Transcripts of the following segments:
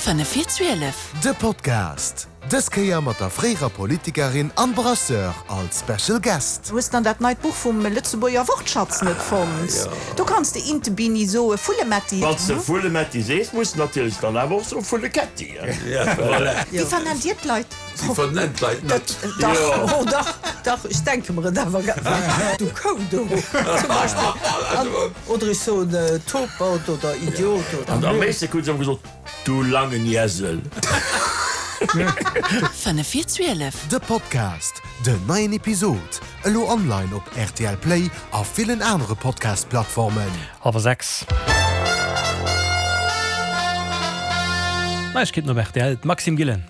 5 vir 12. De Podcast, dës Kéier mat der fréierer Politikerin an Brasseur als Special Guest. Hues dann dat neit Buch vum Lëtzebuerger Wortschatz net fonnt? Do kanns de Interbini soe, Vullemetti. Wann s de Vullemetti sees, muss de natierlech dann awer och soe Vulleketti. Wéi vernennt Dir d'Leit? Si vernennt d'Leit net. Dach, oh dach, dach, ech denke mer et awer. Du Kou do, zum Beispill. Oder ech soen Topert oder Idiot oder. An am meeschte krut se ëmmer gesot, Du langen Iesel. 5 vir 12. De Podcast, Den neien Episod elo online op rtl Play a villen anere Podcast-Plattformen. Hallwer 6. Neiegkeeten op rtl, d'Maxime Gillen.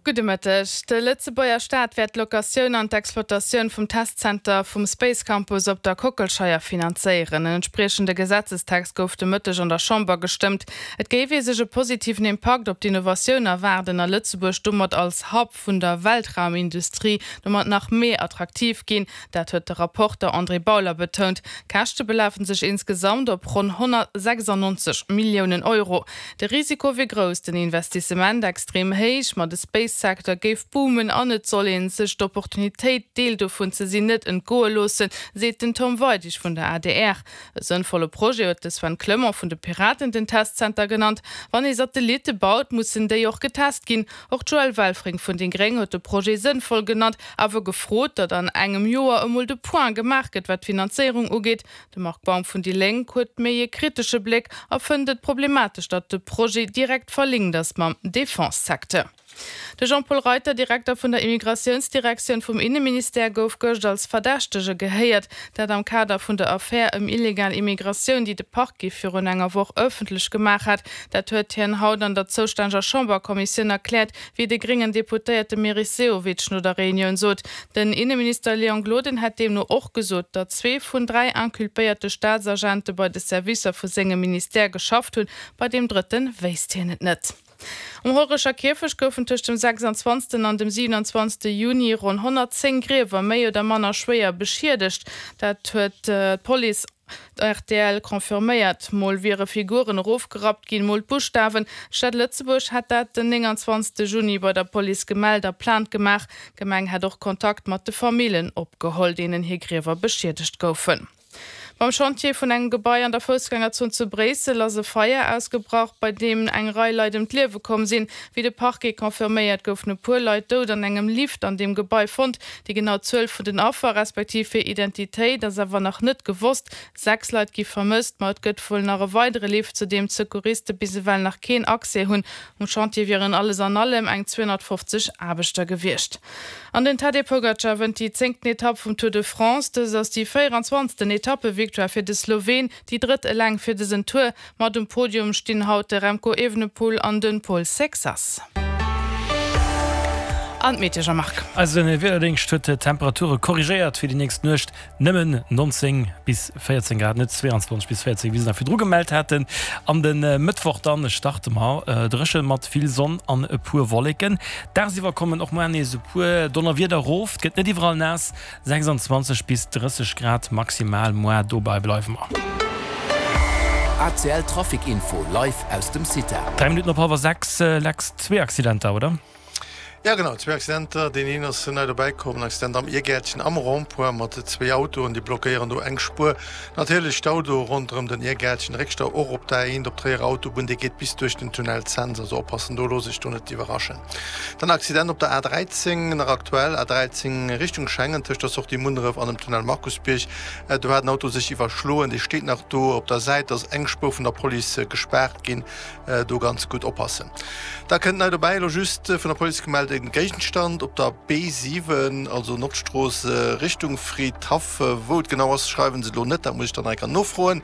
Gudde Mëtteg. De Lëtzebuerger Staat wäert d'Locatioun an d'Exploitatioun vum Testzenter vum Space Campus op der Kockelscheier finanzéieren. En entspriechende Gesetzestext gouf de Mëtteg an der Chamber gestëmmt. Et géif ee sech e positiven Impakt op d'Innovatioun erwaarden a Lëtzebuerg domat als Hub vun der Weltraumindustrie domat nach méi attraktiv ginn. Dat huet de Rapporter André Bauler betount. D'Käschte belafen sech insgesamt op ronn 196 Milliounen Euro. De Risiko wier grouss, den Investissement extrem héich, ma de Space-Secteur géif boomen an et soll ee sech d'Opportunitéit, Deel dovun ze sinn, net entgoe loossen, seet den Tom Weidig vun der adr. E sënnvolle Projet huet de Sven Clement vun de Piraten den Testzenter genannt. Wann ee Satellitte baut, mussen déi och getest ginn. Och d'Joëlle Welfring vun déi Gréng huet de Projet sënnvoll genannt, awer gefrot, datt an engem Joer emol de Point gemaach gëtt, wat d'Finanzéierung ugeet. De Marc Baum vun déi Lénk huet méi e kritesche Bléck a fënnt et problematesch, datt de Projet direkt verlinkt ass mam Defense-Secteur. De Jean-Paul Reiter, Direkter vun der Immigratiounsdirektioun vum Inneministère, gouf gëscht als Verdächtege gehéiert. Dat am Kader vun der Affär ëm illegal Immigratioun, déi de Parquet virun enger Woch ëffentlech gemaach hat. Dat huet hien haut an der zoustänneger Chamberkommissioun erkläert, wéi de gréngen Deputéierte Meris Sehovic no der Reunioun sot. Den Inneminister Léon Gloden hätt deemno och gesot, datt zwee vun 3 inculpéierte Staatsagente bei de Servicer vu sengem Ministère geschafft hunn, bei deem drëtte wéisst hien et net. Um Hollerecher Kierfecht goufen tëscht dem 26. an dem 27. Juni ronn 110 Griewer méi oder manner schwéier beschiedegt. Dat huet d'Police Rtl confirméiert. Mol wiere Figuren erofgerappt ginn, mol d'Buschtawen. D'Stad Lëtzebuerg hätt dat den 29. Juni bei der Police gemellt a Plainte gemaach. D'Gemeng hätt och Kontakt mat de Famillen opgeholl, deenen hir Griewer beschiedegt goufen. Beim Chantier vun engem Gebai an der Foussgängerzon zu Bréissel ass e Feier ausgebrach, bei deem eng Rei Leit ëm d'Liewe komm sinn. Wéi de Parquet confirméiert, goufen e puer Leit dout an engem Lift an deem Gebai fonnt. Déi genau Zuel vun den Affer, respektiv hir Identitéit ass awer nach net gewosst. 6 Leit gi vermësst, ma et gëtt wuel nach e weidere Lift, zu deem d'Secouriste bis ewell nach keen Accès hunn. Um Chantier wieren alles an allem eng 250 Aarbechter gewiescht. An den Tadej Pogacar wënnt déi zéngten Etapp vum Tour de France. Dëst ass déi 24. Etappevictoire fir de Sloween, déi drëtt eleng fir dësen Tour. Mat um Podium stinn haut de Remco Evenepoel an de Paul Sexas. An d'Meteo, Jean-Marc. Eise Wiederdéngscht huet d'Temperature korrigéiert fir déi nächst Nuecht. Nëmmen 19 bis 14 Grad, net 22 bis 14, wéi se nach virdru gemellt haten. An de Mëttwoch dann starte mer dréche mat vill Sonn an e puer Wolleken. Dagsiwwer kommen och muar nees e puer Donnerwieder erof, et gëtt net iwwerall naass, 26 bis 30 Grad maximal muar, dobei bleiwe mer. ACL Trafic Info live aus dem CITA. 3 Minutten op hallwer 6, Lex, zwee Accidenter, oder? Ja genau, zwee Accidenter. Deen een ass nei dobäi komm, en Accident am Iergäertchen am Rond-point mat zwee Autoen, déi blockéieren do eng Spuer. Natierlech Stau do ronderëm den Iergäertchen, Réckstau och op der A1 op d'Tréierer Autobunn, dee geet bis duerch den Tunnel Cents, also oppassen do, looss iech do net iwwerraschen. Dann Accident op der A13, nach aktuell, A13 Richtung Schengen tëscht der Sortie Munneref an dem Tunnel Markusbierg. Do hat en Auto sech iwwerschloen, dee steet nach do. Op der Säit ass eng Spuer vun der Police gespaart ginn. Do ganz gutt oppassen. Da kënnt nei dobäi, elo just vun der Police gemellt, e Géigenstand op der B7, also Nordstrooss Richtung Fridhaff. Wou et genau ass, schreiwen se elo net, dat muss ech dann nach eng Kéier nofroen.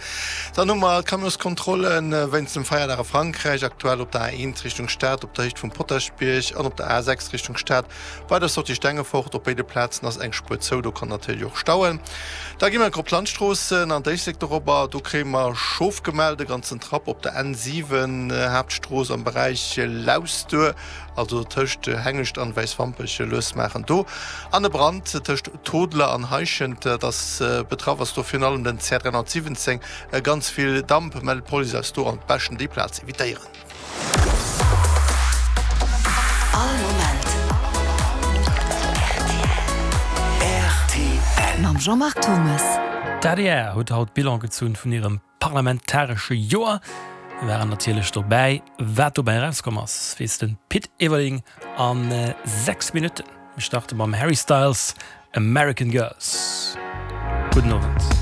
Dann hu mer d'Camionskontrolle wéinst dem Feierdag a Frankräich, aktuell op der A1 Richtung Stad op der Héicht vum Potaschbierg an op der A6 Richtung Stad Bei der Sortie Stengefort op béide Plazen ass eng Spuer zou, do kann natierlech och stauen. Da gi mer op d'Landstroossen an d'Éislek dorobber, do kréie mer Schof gemellt, e ganzen Trapp op der N7, Haaptstrooss am Beräich Lausduer, also tëscht Hengescht an Wäiswampech, lues maachen do. An e Brand tëscht Todeler an Heischent, dat ass betraff ass do virun allem den CR 317, ganz vill Damp mellt d'Police eis do, an beschten déi Plaz evitéieren. All Moment rtl. Mam Jean-Marc Thomas. D'ADR huet haut Bilan gezunn vun hirem parlamentaresche Joer. Mir waren natierlech dobäi. Wat dobäi erauskomm ass, weess de Pit Everling a 6 Minutten. Mir starte mam Harry Styles, American Girls. Gudden Owend.